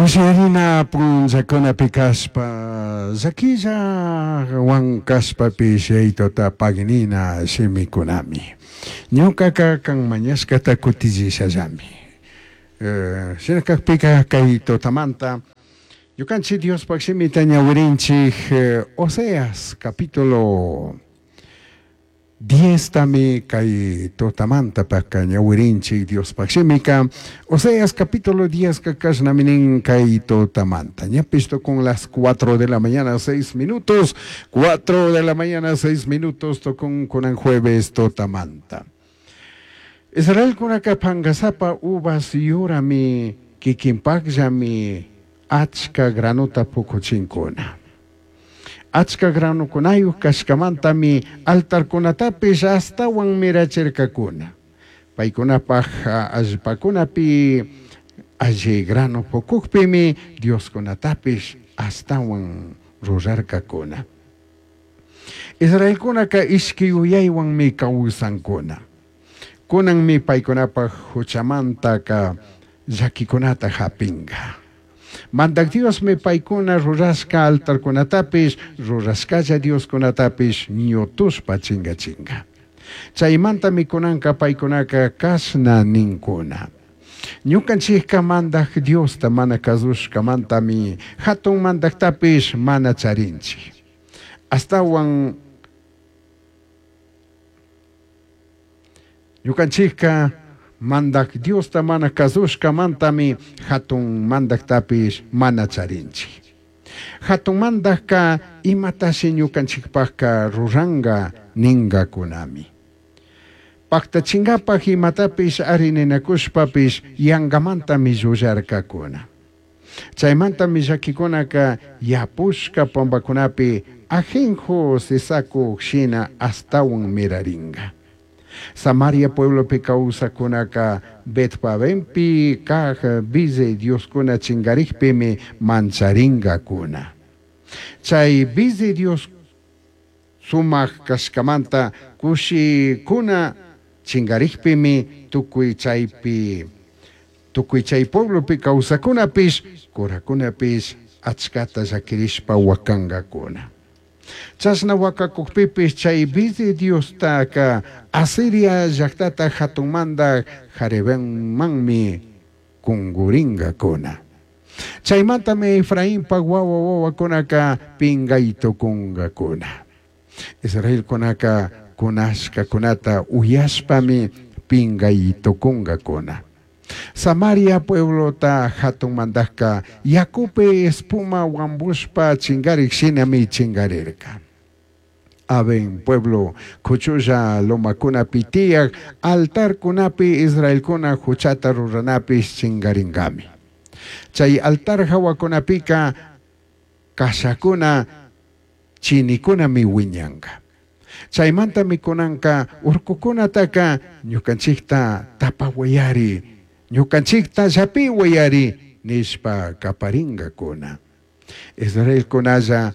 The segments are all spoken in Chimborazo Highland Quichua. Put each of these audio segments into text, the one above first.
Kushirina punllakunapi kashpa llaquillawan kashpapish Yaitota paginina shimikunami. Ñukaka kan mañashkata kutichishallami. Shina kakpika kay tutamanta ñukanchik Diospaj shimita ñawirinchik Oseas capítulo 10 tami kay tutamanta paka ñawirinchik Diospaj shimika. Oseas capítulo 10 ka kashnami nin kay tutamanta. Ñapish tukun las 4 de la mañana 6 minutos, 4 de la mañana 6 minutos tukun kunan jueves tutamanta. Israelkunaka pangasapa uvas yurami kikinpakllami achka granota pukuchinkuna. Achka granokunayuq kashkamantami altarkunatapish astawan mirachirkakuna. Paykunapaj allpakunapi alli grano pukukpimi Dioskunatapish astawan rurarkakuna. Israelkunaka ishki yuyaywanmi kawsankuna. Kunanmi paykunapaj huchamantaka llakikunata hapinka. Mandak Diosmi paykuna rurashka altarkunatapish, rurashkalla Dioskunatapish ñutushpa chingachinka. Chaymantami kunanka paykunaka kashna ninkuna. Ñukanchikka mandak Diosta mana kasushkamantami hatun mandaktapish mana charinchik. Astawan ñukanchikka mandak Diosta mana kasushkamantami hatun mandaktapish mana charinchik. Hatun mandakka imatashi ñukanchikpakka ruranka ninkakunami. Paktachinkapak imatapish arininakushpapish yankamantami llullarkakuna. Chaymantami llakikunaka yapushka pampakunapi ajenjo sisakuk shina astawan mirarinka. Samaria pueblopi kawsakunaka Betpavenpi kaj bize Dioskuna chinkarikpimi mancharinkakuna. Chay bize Dios sumak kashkamanta kushikuna chinkarikpimi tukuy chaypi tukuy chay pueblopi kawsakunapish kurakunapish achkata llakirishpa wakankakuna. Chashna wakakukpipish chay bizi Diostaka Asiria llaktata hatunmanta Jarebenmanmi kunkurinkakuna. Chaymantami Efrainpak wawa wawakunaka pinkaytukunkakuna. Israelkunaka kunashkakunata uyashpami pinkaytukunkakuna. Samaria pueblota hatun mandakka yakupi espuma wambushpa chingarik shinami chingarirka. Aben pueblo kuchulla lomakunapi tiyak altarkunapi Israelkuna huchata ruranapish chingaringami. Chay altar hawakunapika kashakuna chinikunami wiñanka. Chaymantami kunanka urkukunataka ñukanchikta tapawayari, ñukanchikta llapiwayari nishpa kaparinkakuna. Israelkunalla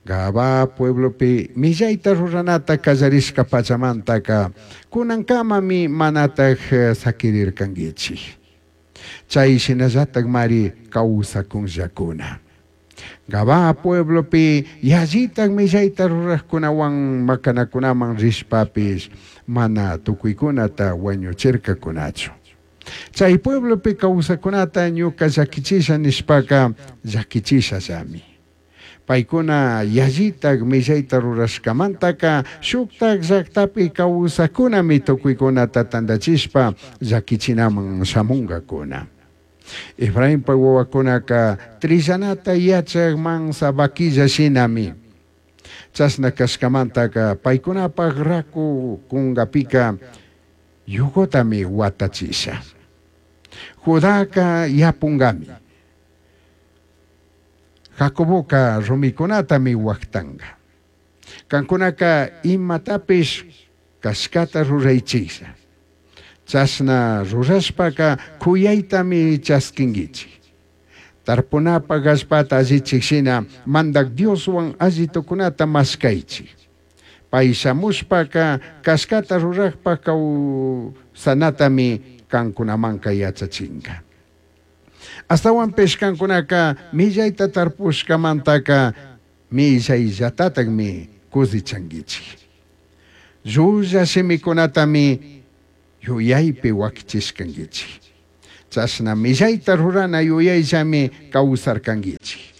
Gabaa pueblopi millayta ruranata kallarishka pachamantaka kunankamami manataj sakirirkankichik. Chay shinallatakmari kawsakunllakuna. Gabaa pueblopi yallitak millayta rurajkunawan makanakunaman rishpapish mana tukuykunata wañuchirkakunachu. Chay pueblopi kawsakunata ñuka llakichisha nishpaka llakichishallami. Paykuna yallitak millayta rurashkamantaka shuktak llaktapi kawsakunami tukuykunata tantachishpa llakichinaman shamunkakuna. Efrainpa wawakunaka trillanata yachak mansa vaquilla shinami. Chashna kashkamantaka paykunapak raku kunkapika yugotami watachisha. Judaka yapunkami. Jacoboka rumikunatami waktanka. Kankunaka imatapish kashkata ruraychisha. Chashna rurashpaka kuyaytami chaskinkichik. Tarpunapak allpata allichik shina mandak Dioswan allitukunata mashkaychik. Pay shamushpaka kashkata rurakpak kawsanatami kankunamanka yachachinka. Ashtahuanpish cancunaca millaita tarpushcamantaca millaillatatajmi cuzichanguichij. Llulla shimicunatami yuyaipi huaquichishcanguichij. Chashna millaita rurana yuyaillami causarcanguichij.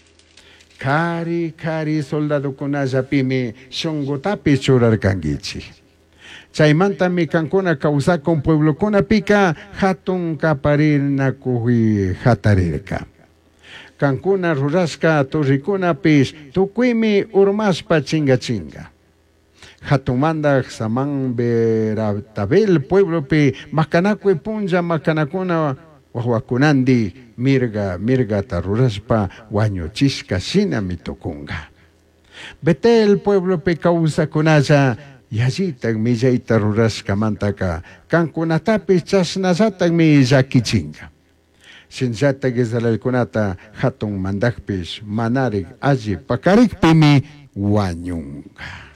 Cari cari soldadocunallapimi shungutapish churarcanguichij. Chaimantami cancuna causacun pueblocunapica jatun caparinacuj jatarirca. Cancuna rurashca torrecunapish tucuimi urmashpa chingachinga. Jatun mandaj Samán Beratabel pueblopi macanacui punlla macanacuna huahuacunandi mirga mirgata rurashpa huañuchishca shinami tucunga. Betel pueblopi causacunalla yallitaj millaita rurashcamantaca cancunatapish chashnallatajmi llaquichinga. Shinallataj Israelcunata jatun mandajpish manarij alli pacarijpimi huañunga.